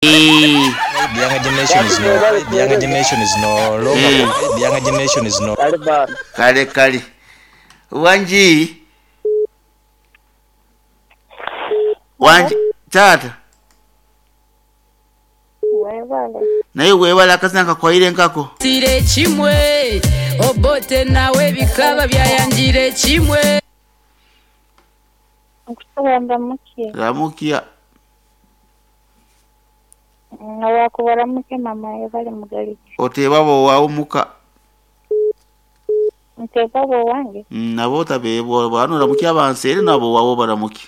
The The younger generation is no The younger generation is no longer The younger generation is no Kale baana. Kale kale. Wangi? Wangi taata? Webale. Naye webale akazina kakwaire nkako. Tire kimwe Obote nawe bikaba byayangire kimwe. Nkusaba ndamukie. Ramukia. Nga mama yebale mugalike. Oteeba b'owaawo muka. Nteeba b'owange. Nabo otabeebwa bano oramukia abanseere nabo owaawo baramuke.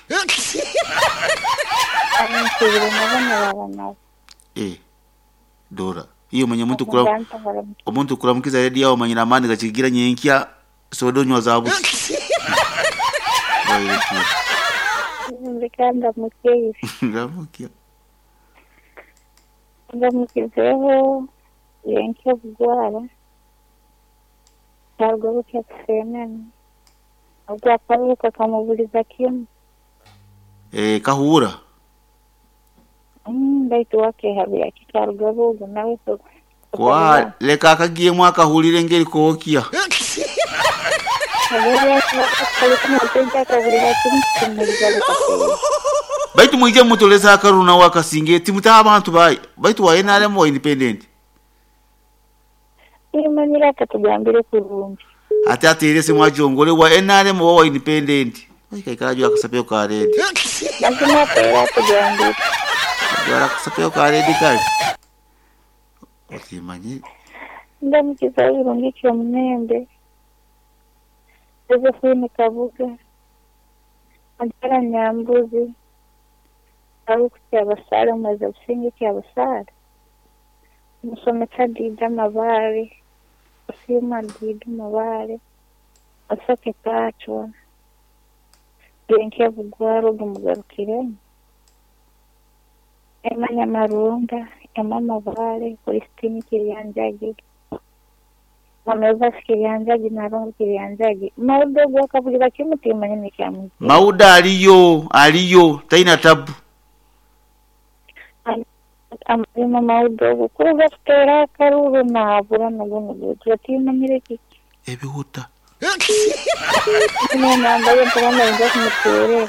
Nsiibire nabo nibaba nabo. Eh. Dora. Iyo manya omuntu kura Abantu baramukia. omuntu kuramukiza radio awo manyira amaani gakigira nyenkya soda onywa za busa. Wairekia. Nzika ndamukie ife. Ramukia. Ndamukizeho yenkya obugwara. Bwarwa bukya kusenene. Ogwakaruka kamubuliza kimu. Eh kahuura. Baitu wakehabira kikaruga bugu nawe so. Kwa leka akagiemu akahulire engeri kookya. Baitu mwije mutoleza akaruna wakasinge timutaha abantu bayi baitu wa NRM wa independent. Imanyira akatugambire kurungi. Ate aterese mwajongole wa NRM wa wa independent. Kaikara jwa akasapeo ka red. Lazima ateera atugambire. Jwa akasapeo ka red kale. Otimanye Ndamukiza birungi ekyomunembe. Josephine Kabuga. Majara Nyambuzi. Aruku Kyabasaale Omwezi Businge Kyabasaale. Omusomesa Dida Mabaare. Osiima Dida Mabaare. Osoke Pachwa. Genkya Bugwaro gumugarukiremu. Emma Nyamarunda, Emma Mabaare, Christine Kiryanjagi. Mama Evas Kiryanjagi na Rongo Kiryanjagi. Maudo gwakabulira kimu timanye nekyamugira. Mauda aliyo aliyo taina tabu. Amazima maudo ogu kuruga kuteera akaruru naabura naguno gutyo timanyire kiki. Ebihuta. Ine nambaye mpabanda nja kumuteerera.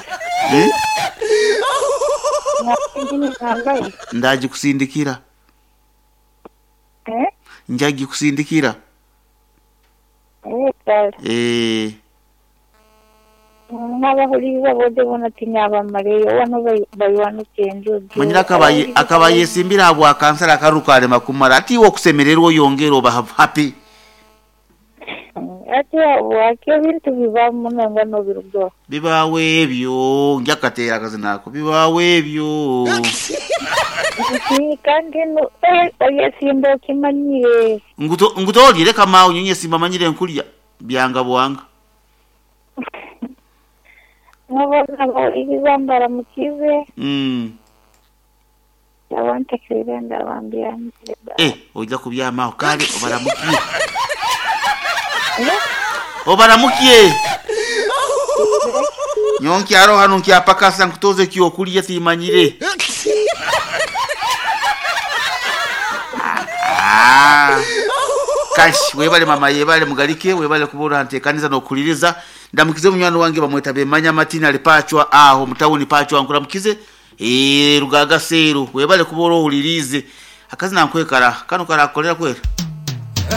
Eh? Ine nambaye. Ndaji kusindikira. Eh? Njagi kusindikira. Eh, kale. Eh N'abahuriza bode bona tinyabamareyo wano bayiwanuka enjojo. manyira akabaye akabaye simbira abwa kansala akaruka alema kumara ati iwe okusemererwa oyongera oba happy. Ati waki ebintu biba muno nga nobirugaho. Bibaawo ebyo njakateera akazina ako bibaawo ebyo. Nti kandi no oyesimba okimanyire. Nguto ngutoolire kamaawo nyonye simba manyire nkulya byanga bwanga. Nabona bahuriza mbaramukize. Abantekerera ndabambira. Eh ojja kubyamaawo kale obaramukiye. Obaramukiye. Nyonkyaro hano nkyapakasa nkutoze ekyokulya timanyire. Ah. Kashi webale mama yebale mugalike webale kubura ntekaniza nokuliriza ndamukize munywani wange bamweta bemanya Martin alipachwa aho mutawuni pachwa nkuramukize eh rugaga seru webale kubura ohulirize akazina nkwekara kano karakolera kwera.